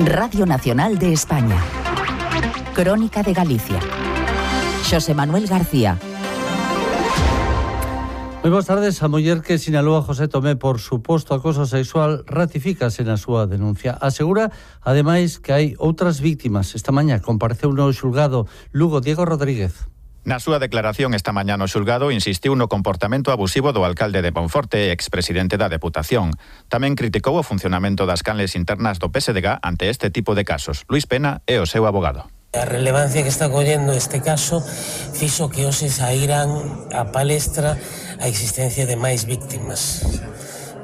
Radio Nacional de España. Crónica de Galicia. Xosé Manuel García. Moi boas tardes. A muller que sinalou a José Tomé por suposto acoso sexual ratifícase na súa denuncia. Asegura, ademais, que hai outras víctimas. Esta mañá compareceu no xulgado Lugo Diego Rodríguez. Na súa declaración esta mañá no xulgado insistiu no comportamento abusivo do alcalde de Monforte e expresidente da Deputación. Tamén criticou o funcionamento das canles internas do PSDG ante este tipo de casos. Luis Pena é o seu abogado. A relevancia que está collendo este caso fixo que hoxe saíran a palestra a existencia de máis víctimas,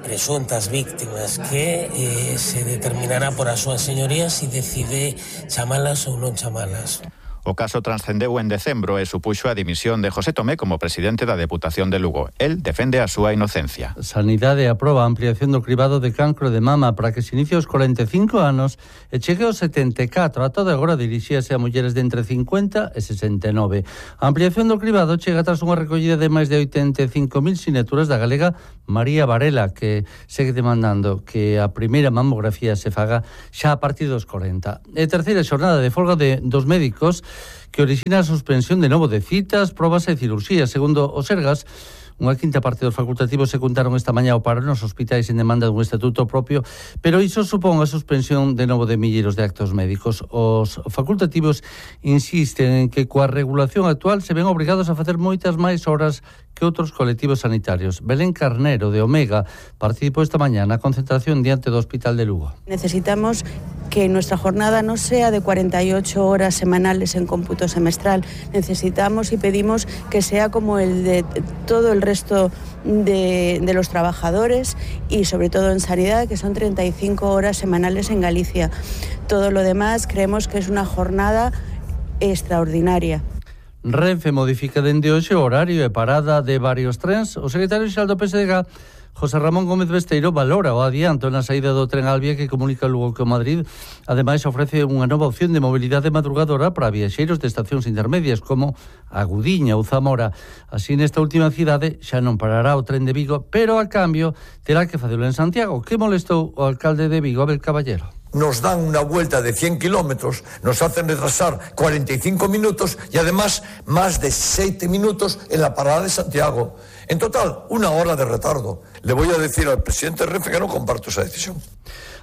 presuntas víctimas, que se determinará por as súas señorías se decide chamalas ou non chamalas. O caso transcendeu en decembro e supuxo a dimisión de José Tomé como presidente da Deputación de Lugo. El defende a súa inocencia. Sanidade aproba a ampliación do cribado de cancro de mama para que se inicie aos 45 anos e chegue aos 74. A toda agora dirixíase a mulleres de entre 50 e 69. A ampliación do cribado chega tras unha recollida de máis de 85.000 sinaturas da galega María Varela, que segue demandando que a primeira mamografía se faga xa a partir dos 40. E terceira xornada de folga dos médicos que orixina a suspensión de novo de citas, probas e cirurxías. Segundo o Sergas, unha quinta parte dos facultativos se contaron esta mañá ao paro nos hospitais en demanda dun estatuto propio, pero iso supón a suspensión de novo de milleiros de actos médicos. Os facultativos insisten en que coa regulación actual se ven obrigados a facer moitas máis horas que outros colectivos sanitarios. Belén Carnero, de Omega, participou esta mañá na concentración diante do Hospital de Lugo. Necesitamos que nuestra jornada no sea de 48 horas semanales en cómputo semestral. Necesitamos y pedimos que sea como el de todo el resto de los trabajadores y sobre todo en sanidad, que son 35 horas semanales en Galicia. Todo lo demás creemos que es una jornada extraordinaria. Renfe modifica dende hoxe o horario e parada de varios trens. O secretario xeral do PSDG, José Ramón Gómez Besteiro, valora o adianto na saída do tren Albia que comunica Lugo con Madrid. Ademais, ofrece unha nova opción de mobilidade madrugadora para viaxeiros de estacións intermedias como a Gudiña ou Zamora. Así, nesta última cidade xa non parará o tren de Vigo, pero a cambio terá que facelo en Santiago. Que molestou o alcalde de Vigo, Abel Caballero? Nos dan una vuelta de 100 kilómetros, nos hacen retrasar 45 minutos y además más de 7 minutos en la parada de Santiago. En total, 1 hora de retardo. Le voy a decir al presidente Renfe que no comparto esa decisión.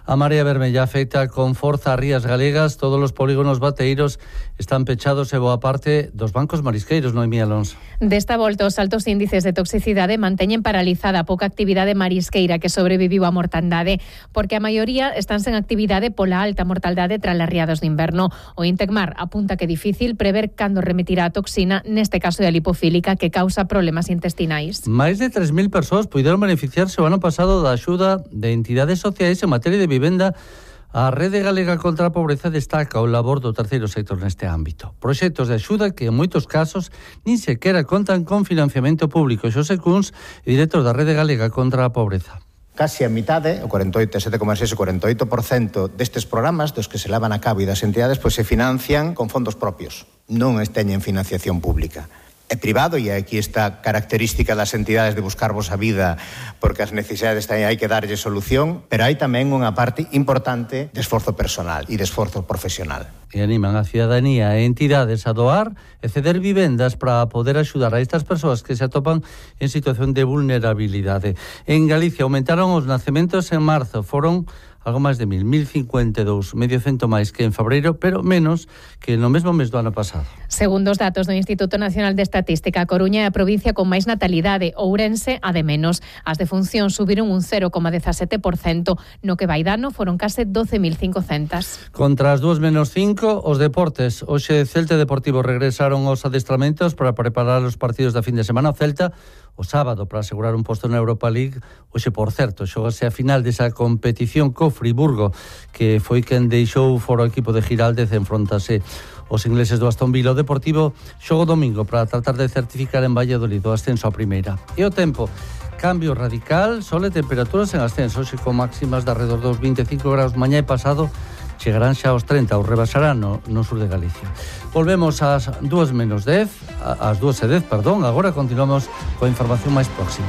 A Marea Vermella afecta con forza a rías galegas. Todos os polígonos bateiros están pechados e boa parte dos bancos marisqueiros, Noemí Alonso. Desta volta, os altos índices de toxicidade manteñen paralizada a pouca actividade marisqueira que sobreviviu á mortandade, porque a maioría están sen actividade pola alta mortaldade tras as riadas de inverno. O Intecmar apunta que é difícil prever cando remitirá a toxina, neste caso de a lipofílica, que causa problemas intestinais. Máis de 3.000 persoas puideron beneficiarse o ano pasado da axuda de entidades sociais en materia de vivenda. A Rede Galega contra a Pobreza destaca o labor do terceiro sector neste ámbito. Proxectos de axuda que en moitos casos nin sequera contan con financiamento público. Xosé Cuns, director da Rede Galega contra a Pobreza. Casi a mitade, o 47,6% destes programas dos que se levan a cabo e das entidades pois se financian con fondos propios, non teñen financiación pública. É privado e aquí está característica das entidades de buscarvos a vida porque as necesidades hai que darlle solución, pero hai tamén unha parte importante de esforzo personal e de esforzo profesional. E animan a cidadanía e entidades a doar e ceder vivendas para poder axudar a estas persoas que se atopan en situación de vulnerabilidade. En Galicia aumentaron os nacementos en marzo, foron algo máis de 1.052, medio cento máis que en febreiro, pero menos que no mesmo mes do ano pasado. Segundo os datos do Instituto Nacional de Estatística, a Coruña é a provincia con máis natalidade, Ourense a de menos. As defuncións subiron un 0,17%, no que vai dano foron case 12.500. Contra as 2:05, os deportes. Hoxe Celta e Deportivo regresaron aos adestramentos para preparar os partidos da fin de semana. O Celta o sábado para asegurar un posto na Europa League. Hoxe, por certo, xogase a final desa competición co Friburgo, que foi quen deixou fora o equipo de Giraldez, enfrontase os ingleses do Aston Villa. O Deportivo xogo domingo para tratar de certificar en Valladolid o ascenso a primeira. E o tempo, cambio radical, sol e temperaturas en ascenso, hoxe con máximas de alrededor dos 25 graus. Mañá e pasado chegarán xa aos 30 ou rebasarán no sur de Galicia. Volvemos ás 2:10, ás 2:10, perdón. Agora continuamos coa información máis próxima.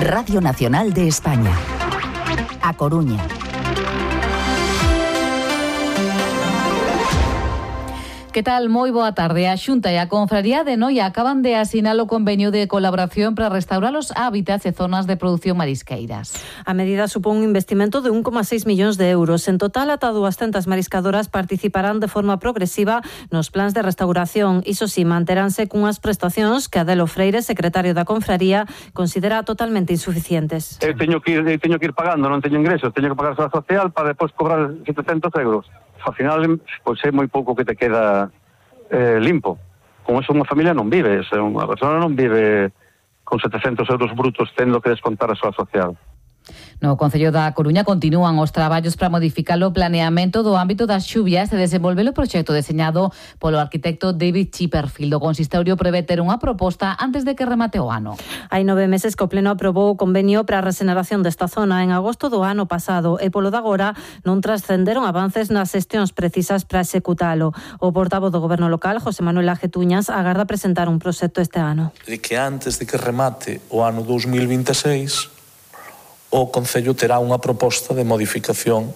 Radio Nacional de España. A Coruña. Que tal? Moi boa tarde. A Xunta e a Confraría de Noia acaban de asinar o convenio de colaboración para restaurar os hábitats e zonas de produción marisqueiras. A medida supón un investimento de 1,6 millóns de euros. En total, ata 200 mariscadoras participarán de forma progresiva nos plans de restauración. Iso si, manteránse cunhas prestacións que Adelo Freire, secretario da Confraría, considera totalmente insuficientes. Teño que ir pagando, non teño ingresos, teño que pagar a social para despois cobrar 700 euros. Ao final, pois é moi pouco que te queda limpo. Con eso unha familia non vive, unha persona non vive con 700 euros brutos tendo que descontar a súa social. No Concello da Coruña continúan os traballos para modificar o planeamento do ámbito das xuvias e desenvolver o proxecto deseñado polo arquitecto David Chipperfield. O consistorio prevé ter unha proposta antes de que remate o ano. Hai 9 meses que o Pleno aprobou o convenio para a regeneración desta zona en agosto do ano pasado e polo de agora non trascenderon avances nas xestións precisas para executalo. O portavoz do Goberno local, José Manuel Ajetuñas, agarda presentar un proxecto este ano. De que antes de que remate o ano 2026 o Concello terá unha proposta de modificación